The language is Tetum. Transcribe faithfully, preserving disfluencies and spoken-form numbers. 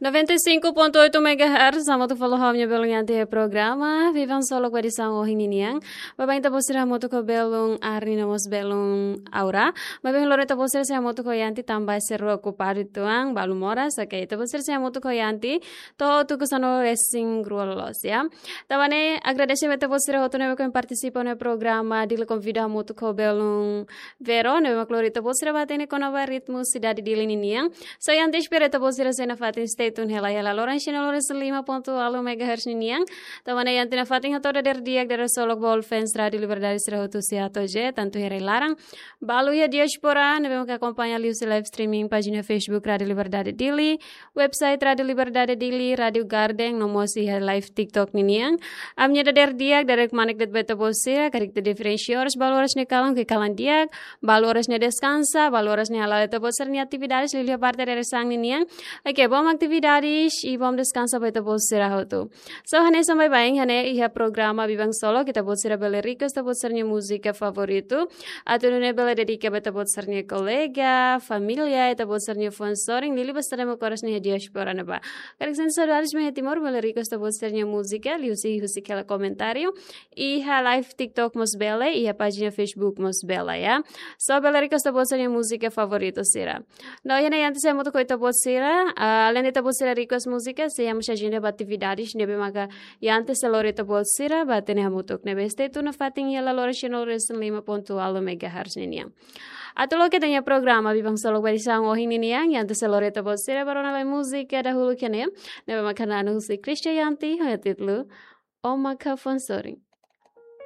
Noventa e cinco ponto oito megahertz, hamutuk fali ho ha'u-nia belun Yanti iha programa Vivan Solok ba edisaun ohin ninian. Baibain ita-boot sira hamutuk ho belun Arni no mós belun Aura. Maibé ohin loron ita-boot sira sei hamutuk ho Yanti tanba sira okupadu uitoan, balu moras, oke. Ita-boot sira sei hamutuk ho Yanti to'o tuku sanulu-resin-rua loos, ya. Tanba ne'e agradese ba ita-boot sira hotu ne'ebé ke partisipa iha programa Dili Konvida hamutuk ho belun Vero, ne'ebé mak lori ita-boot sira ba hatene kona-ba ritmu sidade Dili ninian. So, Yanti espera ita-boot sira sei nafatin stay tune hela iha laloran cien lima ponto nol megahertz ninian. Tanba ne'e Yanti nafatin hato'o dadeer di'ak, dadeer solok ba all fans Rádio Liberdade sira hotu, sei hato'o je, tantu iha rai-laran, balu iha diáspora ne'ebé mak akompaña liuhusi live streaming pájina Facebook Rádio Liberdade Dili, website Rádio Liberdade Dili, Rádio Garden, no mós iha live TikTok ninian. Ami-nia dadeer di'ak, dadeer kmanek de'it ba ita-boot sira, karik ita diferensia oras, balu oras ne'e kalan, ke kalan di'ak, balu oras ne'e deskansa, balu oras ne'e hala'o ita-boot sira-nia atividades, liuliu iha parte dadeer-saan ninian. Oke, bom atividades i bom deskansa ba ita-boot sira hotu. So, hanesan baibain, hanesan iha programa Vivan Solok, ita-boot sira bele request ita-boot sira-nia múzika favoritu. Atu nune'e bele dedika ba ita-boot sira-nia kolega, família, ita-boot sira-nia fuan sorin, liuliu ba sira ne'ebé mak oras ne'e iha diáspora ne'ebá. Karik sente saudades mai iha Timor, bele request ita-boot sira-nia múzika, liuhusi, husik hela komentáriu iha live TikTok mós bele, iha pájina Facebook mós bele, ya. So, bele request ita-boot sira-nia múzika favoritu sira. No, iha ne'e Yanti sei hamutuk ho ita-boot sira, ah, alende ita-boot sira request múzika, sei iha mós agenda ba atividades ne'ebé maka Yanti sei lori ita-boot sira ba hatene hamutuk. Ne'ebé stay tune nafatin iha laloran cien lima ponto nol megahertz ninian. Atu loke ita-nia programa Vivan Solok ba edisaun ohin ninian, Yanti sei lori ita-boot sira ba rona lai múzika dahuluk iha ne'e, ne'ebé maka na'an husi Christian Yanti, ho títulu Ó Maka Fuan Sorin.